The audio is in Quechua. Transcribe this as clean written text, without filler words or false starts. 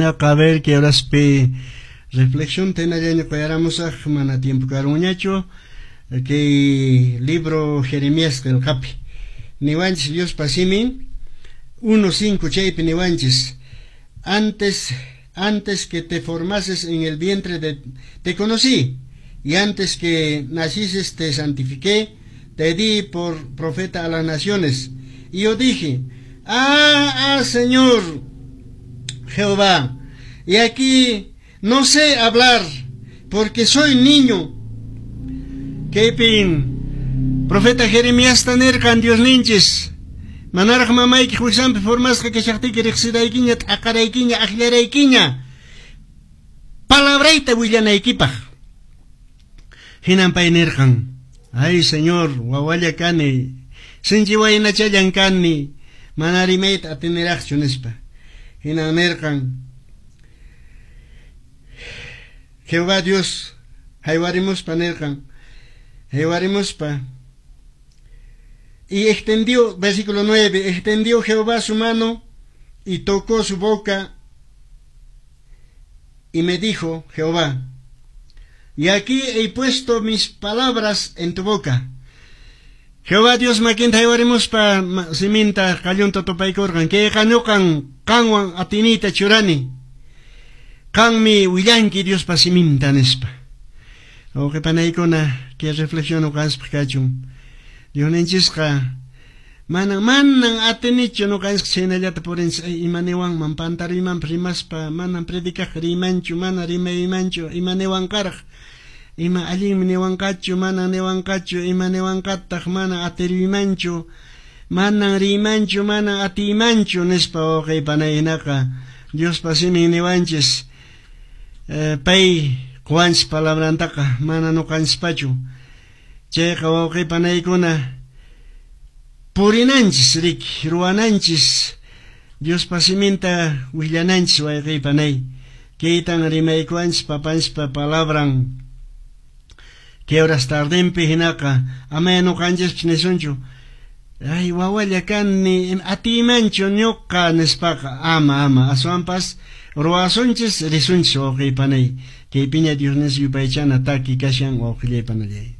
A ver kay horaspi reflexión hinallaña quyaramusaq, mana tiempo karunñachu. Kay libro Jeremías qillqapi niwanchis Diospa simin 1.5, chaypi niwanchis: Antes que te formases en el vientre te conocí, y antes que nacises te santifiqué, te di por profeta a las naciones. Y yo dije: Ah, ah, Señor Jehová, he aquí no sé hablar, porque soy niño. Kaypin profeta Jeremías nirqan Dios ninchis: Manaraq mamayki wiksanpi formasqa kashaqtiyki riqsiraykiña, t'aqaraykiña, akllaraykiña palabrayta willanaykipaq. Hinan pay nirqan: Ay, Señor, wawalla kani, sinchi waynachallan kani, mana rimayta atiniraqchu, nispa. Hinan nirqan Jehová Dios haywarimuspa nirqan, haywarimuspa, y extendió, versículo 9, extendió Jehová su mano y tocó su boca y me dijo Jehová: He aquí he puesto mis palabras en tu boca. Jehová Dios makinta haywarimuspa siminta qallunta tupaykurqan: Kayqa ñuqan qanwan atiniyta churani. Qanmi willanki Diospa siminta, nispa. Wawqi panaykuna, kay reflexión ñuqanchispaq kachun. Diosninchisqa manan manan atinichu ñuqanchis chhaynallata purinchis, ima niwanman, pantaruymanpas rimaspa, manan predicaq riymanchu, mana rimaymanchu, ima niwanqaraq, ima allinmi niwanqachu, mana niwanqachu, ima niwanqataq, mana atiruymanchu, manan riymanchu, mana atiymanchu, nispa. Wawqi panay, hinaqa Diospa simin niwanchis, pay quwanchis palabrantaqa, mana ñuqanchispachu. Chayqa, wawqi panaykuna, purinanchis riki, ruwananchis, Diospa siminta willananchis, wayqi panay. Kaytan rimaykuwanchis papanchispa palabran kay horas tardenpi. Hinaqa amaya ñuqanchispas nisunchu: Ay, wawalla kani, atiymanchu ñuqa, nispaqa. Ama, ama, aswanpas ruwasunchis, risunchis, wawqi panay. Kaypiña Dios yupaychana taki kashan, wawqillay panallay.